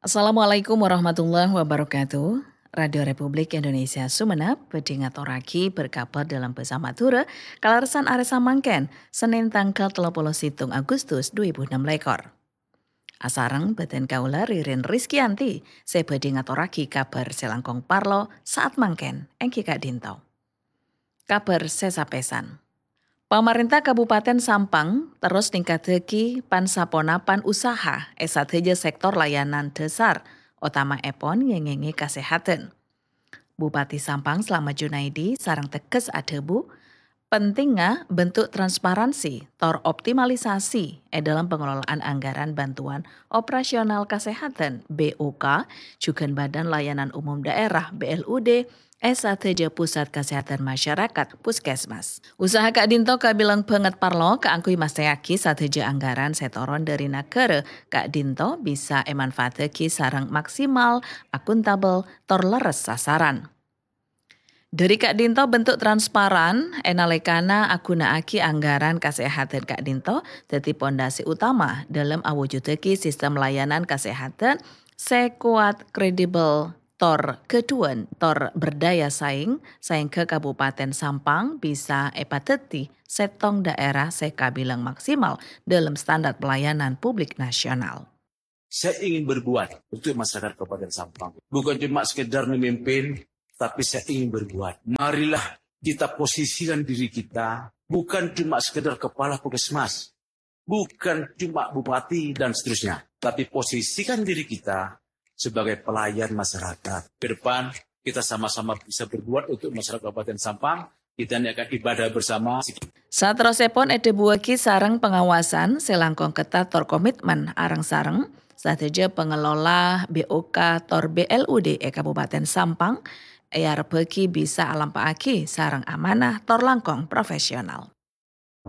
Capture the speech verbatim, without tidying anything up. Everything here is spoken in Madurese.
Assalamualaikum warahmatullahi wabarakatuh. Radio Republik Indonesia Sumenep bhâdhi ngatorraghi berkabar dalam bhâsa Madhurâ kalerressan arè samangkèn, Sennèn tangghâl tello polo sèttong Agustus dua èbu ennem lèkor. Asareng bhâdhân kaulâ Ririn Rizkyanti sè bhâdhi ngatorraghi kabhâr sè langkong parlo sa'at mangkèn, èngghi ka'dinto. Kabhâr sè sapèsan. Pamarènta Kabupaten Sampang terros ningkaddhâghi pan-saponapan usaha è sadhâjâ sèktor layanan dhâsar, otama'èpon ngèngèngè kasèhadhân. Bupati Sampang Slamet Junaidi sareng tegghes adhâbu, pentingnga bentuk transparansi tor optimalisasi è dhâlem pengelolaan anggaran bantuan operasional kasèhadhân, B O K, jhughân Badan Layanan Umum Daerah, B L U D, è sadhâjâ pusat kasèhadhân masyarakat, puskesmas. Usaha ka'dinto kabilang bângèt parlo kaangghuy mastèyaghi sadhâjâ anggaran sè toron dhâri naghârâ ka'dinto bisa èmanfaataghi sareng maksimal, akuntabel, tor lerres sasaran. Dhâri ka'dinto bentuk transparan è nalèkana aghuna'aghi anggaran kasèhadhân ka'dinto dhâddhi pondasi utama dhâlem awujudaghi sistem layanan kasèhadhân sè kowat, kredibel, tor ghâdhuwân, tor berdaya saing, saèngghâ Kabupaten Sampang bisa èpadhâddhi sèttong dhaèra sè kabilang maksimal dhâlem standar pelayanan publik nasional. Saya ingin berbuat untuk masyarakat Kabupaten Sampang. Bukan cuma sekedar memimpin, tapi saya ingin berbuat. Marilah kita posisikan diri kita bukan cuma sekedar kepala puskesmas, bukan cuma bupati dan seterusnya, tapi posisikan diri kita sebagai pelayan masyarakat. Ke depan kita sama-sama bisa berbuat untuk masyarakat Kabupaten Sampang. Kita ini akan ibadah bersama. Saterrossèpon èdhâbuwâghi sareng pangawasan sè langkong ketat tor komitmen areng-sareng sadhâjâ pangelola B O K tor B L U D è Kabupaten Sampang èarebbhâghi bisa alampa'aghi sareng amanah tor langkong profesional.